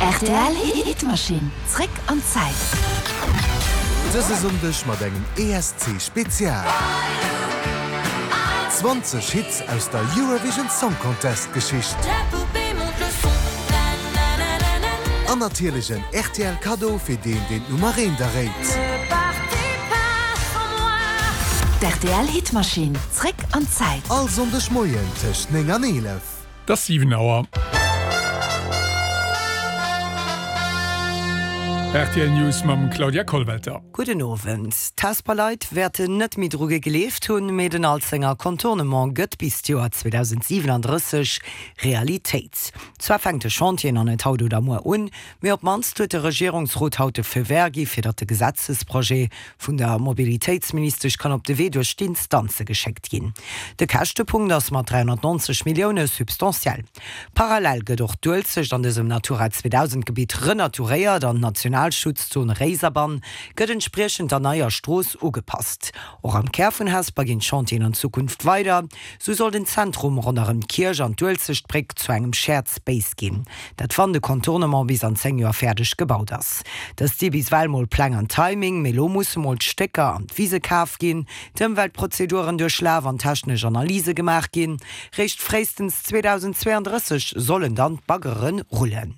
Rtl Hitmaschinn, zréck an d'Zäit. Dëse Sonndeg mat engem ESC Spezial. 20 Hits aus der Eurovision Song Contest Geschicht. An natierlech en rtl Kaddo fir deen deen d'Nummer eent erréit. D'RTL Hitmaschinn, zréck an d'Zäit. All Sonndeg Moien tëscht 9 an 11. Et ass 7 Auer. Rtl News mam Claudia Kollwelter. Gudden Owend. D'Hesper Leit wäerten net méi dru gegleeft hunn, mee den Alzenger Contournement gëtt bis d'Joer 2037 Realitéit. Zwar fänkt de Chantier nach net haut oder muer un, mee op d'mannst huet de Regierungsrot haut de Feu vert gi fir datt de Gesetzesprojet vun der Mobilitéitsministesch kann op de Wee duerch d'Instanze geschéckt ginn. De Käschtepunkt ass mat 390 Millioune substantiell. Parallel gëtt och d'Uelzecht an dësem Natura 2000 Gebitt renaturéiert an d'Nationalschutzzon Réiserbann gëtt entspriechend der neier Strooss ugepasst. Och am Kär vun Hesper ginn d'Chantieren an Zukunft weider. Sou soll den Zentrum ronderëm d'Kierch an d'Uelzechtbréck zu engem Shared Space ginn. Dat wann de Contournement bis an 10 Joer fäerdeg gebaut ass. Dëst si bis well mol Pläng an Timing, mee lo musse mol d'Stécker an d'Wise kaf ginn, d'Ëmweltprozeduren duerchlaf an technesch Analyse gemaach ginn. Réischt fréistens 2032 sollen dann d'Baggere rullen.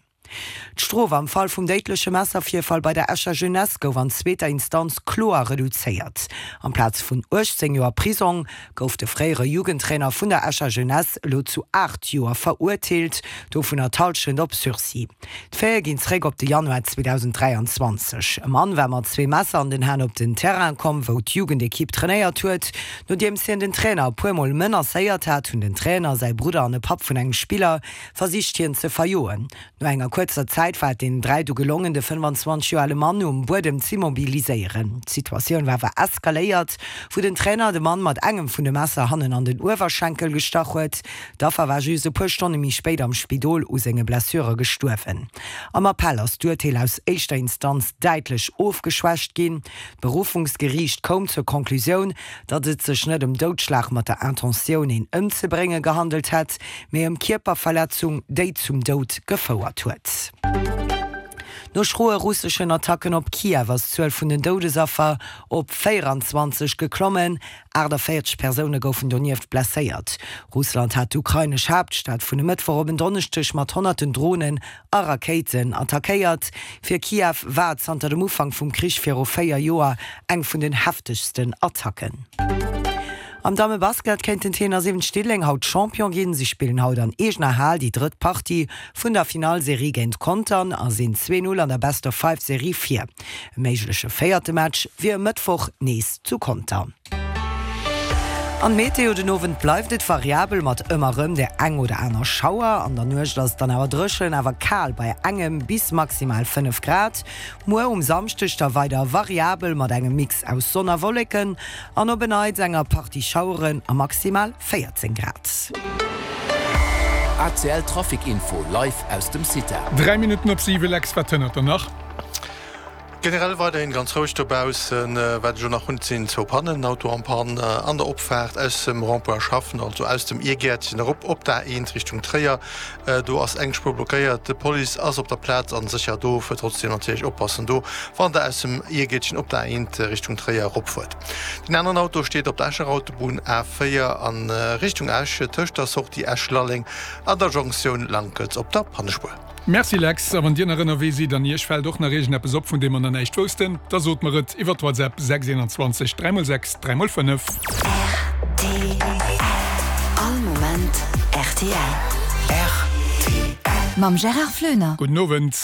D'Strof am Fall vum déidleche Messervirfall bei der Escher Jeunesse gouf an zweeter Instanz kloer reduzéiert. Amplaz vun 18 Joer Prisong gouf de fréiere Jugendtrainer vun der Escher Jeunesse elo zu 8 Joer verurteelt, dovunner d'Hallschent op Sursis. D'Faite ginn zeréck op de Januar 2023. E Mann war mat zwee Messer an den Hänn op den Terrain komm, wou d'Jugendekipp trainéiert huet. Nodeems hien den Trainer e puer Mol menacéiert hat, hunn den Trainer, säi Brudder an e Papp vun engem Spiller versicht hien ze verjoen. No enger kuerzer Zäit war et deenen 3 du gelongen, de 25 Joer ale Mann um Buedem z'immobiliséieren. D'Situatioun war awer eskaléiert, wou den Trainer de Mann mat engem vun de Messer hannen an den Uewerschenkel gestach huet. D'Affer war just e puer Stonne méi spéit am Spidol u senge Blessure gestuerwen. Am Appell ass d'Urteel aus éischter Instanz däitlech ofgeschwächt ginn. D'Beruffungsgeriicht koum zur Conclusioun, datt et sech net ëm Doudschlag mat der Intentioun, een ëmzebrénge gehandelt hätt, mee ëm Kierperverletzung, déi zum Doud gefouert huet. No schroe russeschen Attacken op Kiew ass d'Zuel vun den Doudesaffer op 24 geklommen. 48 Persoune goufen donieft blesséiert. Russland hat d'ukrainesch Haaptstad vun e Mëttwoch op en Donneschdeg mat honnerten Dronen a Rakéiten attackéiert. Fir Kiew war et zanter dem Ufank vum Krich viru 4 Joer eng vun den heftegsten Attacken. Am Dammebasket kéinten d'Heen a 7 Diddeleng haut Champion ginn. Si spillen haut an eegener Hal déi drëtt Partie vun der Finallserie géint Contern a sinn 2, 0 an der Best-of-Five-Serie vir. E méigleche véierte Match wier e Mëttwoch nees zu Contern. An d'Meteo, Den Owend bleift et variabel mat ëmmer rëm der eng oder aner Schauer. An der Nuecht ass et dann awer dréchen, awer kal bei engem bis maximal 5 Grad. Muer um Samschdeg da weider variabel mat engem Mix aus Sonn a Wolleken an op e Neits enger Partie Schaueren a maximal 14 Grad. ACL Trafic Info live aus dem CITA. 3 Minutten op 7, Lex, wat hënnert der nach? Generell weiderhin ganz roueg dobaussen. Wat ech elo nach hunn, et sinn zwou Pannen, en Auto en Panne an der Opfaart aus dem Rond-point Schaffen, also aus dem Iergäertchen erop op d'A1 Richtung Tréier. Do ass eng Spuer blockéiert. D'Police ass op der Plaz an sécher do. Fuert trotzdem natierlech oppassen do, wann der aus dem Iergäertchen op d'A1 Richtung Tréier eropfuert. Deen aneren Auto steet op der Escher Autobunn A4 a Richtung Esch tëscht der Sortie Esch-Lalleng an der Jonktioun Lankelz op der Pannespuer. Merci Lex, a wann dir nach ënnerwee sidd an iech fällt och nach iergendeppes op vun deem mer nach näischt woussten, da sot mer et iwwert WhatsApp 6 21 3 x 6 3 x 5. Rtl All Moment rtl. Rtl Mam Gérard Floener. Gudden Owend.